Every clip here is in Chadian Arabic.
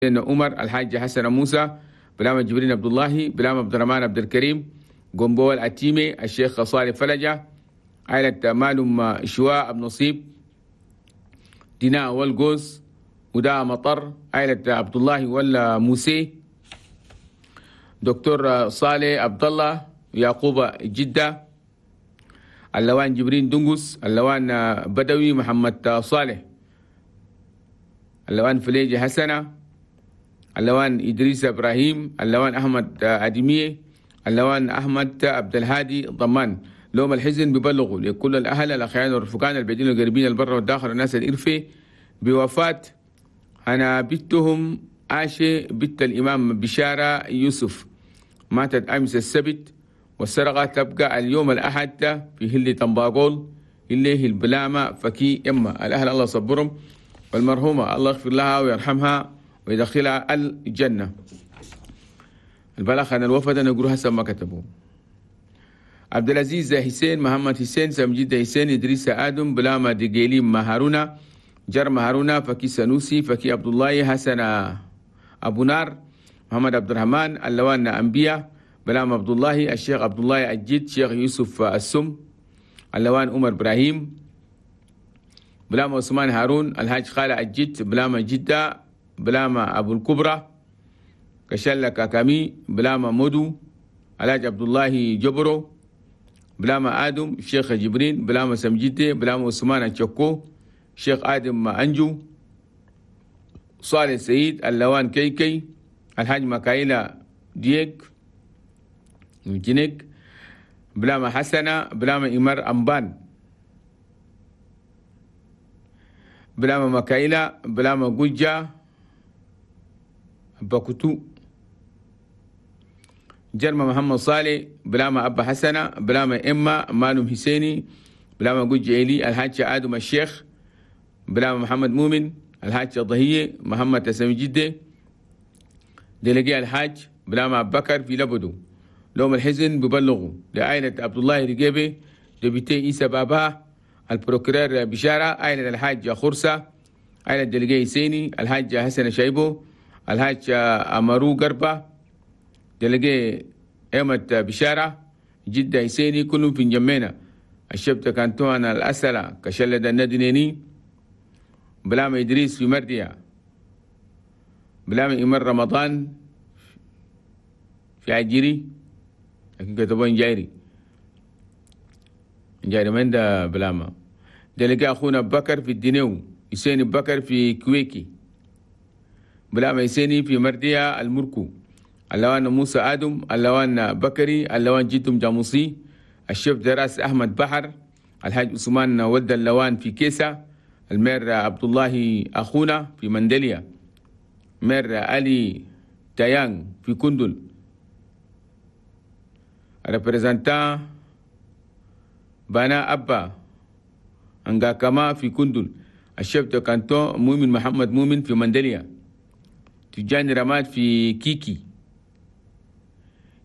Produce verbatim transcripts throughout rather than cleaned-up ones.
عمر، الحاج حسن موسى، بلامة جبرين عبد الله، بلامة عبد الرحمن عبد الكريم، قنبول التيمي، الشيخ صالح فلجة، عائلة مالم شواء أبو نصيب، ديناء والقوس، ودا مطر، عائلة عبد الله ولا موسي، دكتور صالح عبد الله، يعقوب جدة، اللوان جبرين دنقس، اللوان بدوي محمد صالح، اللوان فليجي حسنة، اللوان إدريس إبراهيم، اللوان أحمد أدمية، اللوان أحمد عبد الهادي ضمان. لوم الحزن ببلغوا لكل الأهل الأخيان والرفقان البعيدين والقريبين البر والداخل والناس الإرفي بوفاة أنا بنتهم عاشة بنت الإمام بشارة يوسف، ماتت أمس السبت والسرقة تبقى اليوم الأحد في هلي تنباقول اللي هي البلامة فكي إما. الأهل الله صبرهم، والمرحومة الله يغفر لها ويرحمها ويدخلها الجنة. البلاغ عن الوفد نقول حسب ما كتبوه. عبد العزيز حسين، محمد حسين، سمجد حسين، إدريس آدم، بلامة دقيلي مهارونا، جر مهارونا، فكي سنوسي، فكي عبد الله، حسن أبو نار، محمد عبد الرحمن، اللوان أنبياء، بلام عبد الله، الشيخ عبد الله الجد، شيخ يوسف السم، اللوان عمر إبراهيم، بلام عثمان هارون، الحاج خالد الجد، بلام جدة، بلام أبو الكبرى، كشلة كاكامي، بلام مودو، الحاج عبد الله جبرو، بلام آدم، شيخ جبرين، بلام سمجدة، بلام عثمان الشكو، شيخ آدم أنجو، صالح سعيد، اللوان كيكي، الحاج مكايلة ديك جنيك، بلام حسنة، بلام إمر أمبان، بلام مكايلة، بلام جوجة بكتو، جرم محمد صالح، بلام أبا حسنة، بلام إما مالم حسيني، بلام جوج إيلي، الحاج آدم الشيخ، بلام محمد مؤمن، الحاج ضهية، محمد تسمي جدة، دلقي الحاج، بلام أبو بكر في لبدو. لوم الحزن ببلغوا لعائلة عبد الله رجيبي، député إيسا بابا، ال procureur بشارة، عائلة الحاج خرسة، عائلة دلقي حسيني، الحاج حسن شايبو، الحاج أمارو قربة، دلقي أحمد بشارة، جدة حسيني، كلهم في جمينا. الشبتة كانتوان الأسلة كشلد الندنيني، بلام إدريس في مرديا، بلام إمر رمضان في عجيري، لكن كتبون جايري جايري من ده بلاما. دلقي أخونا بكر في الدنيو، حسين بكر في كويكي، بلام حسيني في مرديا المركو، اللوان موسى آدم، اللوان بكري، اللوان جيتم جاموسي، الشيف دراس أحمد بحر، الحاج عثمان ولد اللوان في كيسة، المير عبد الله أخونا في مندليا، مير علي تايان في كندل، représentant بانا أبا أنغاكما في كندل، ال chef de canton مؤمن محمد مؤمن في مندليا، تجاني رماد في كيكي،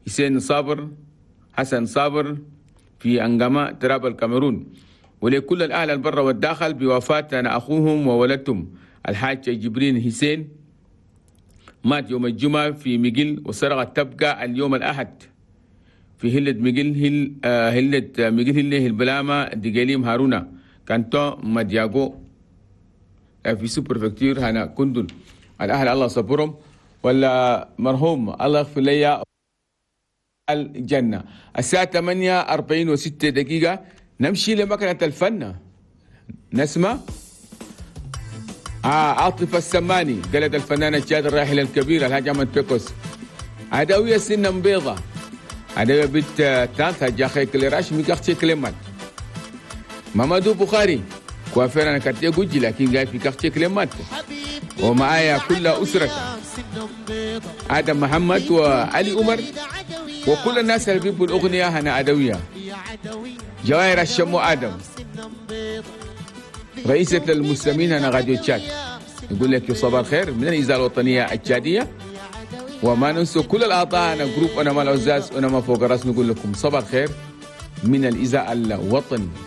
حسين صابر، حسن صابر في أنغاما تراب الكاميرون. ولكل الأهل البر والداخل بوفاة أنا أخوهم وولدتهم الحاج جبرين حسين، مات يوم الجمعة في ميجل وسرقة تبقى اليوم الأحد في هلة ميجل هل آه هلة ميجل هلة البلامة دقيليم هارونا canton مدياغو في sous-préfecture هنا كندل. الأهل الله صبرهم، ولا مرحوم الله يغفر لي الجنة. الساعة ثمانية أربعين وستة دقيقة نمشي لمكنة الفن، نسمع آه عاطفة السماني قالت الفنان الشاد الراحل الكبير الحاج أحمد بيكوس، عدوية سنة بيضة، عدوية بنت تانتا جاخي كليراش ميكاختي كلمات، مامادو بخاري coiffeur أنا quartier جوجي لكن قاعد في quartier كلمات، ومعايا كل أسرة آدم محمد وعلي عمر وكل الناس اللي بيحبوا الأغنية هنا عدوية. جواهر الشمو آدم رئيسة المسلمين هنا راديو تشاد يقول لك صباح الخير من الإذاعة الوطنية التشادية. وما ننسى كل الأعضاء أنا groupe أنا مال عزاز أنا ما فوق الراس، نقول لكم صباح الخير من الإذاعة الوطنية.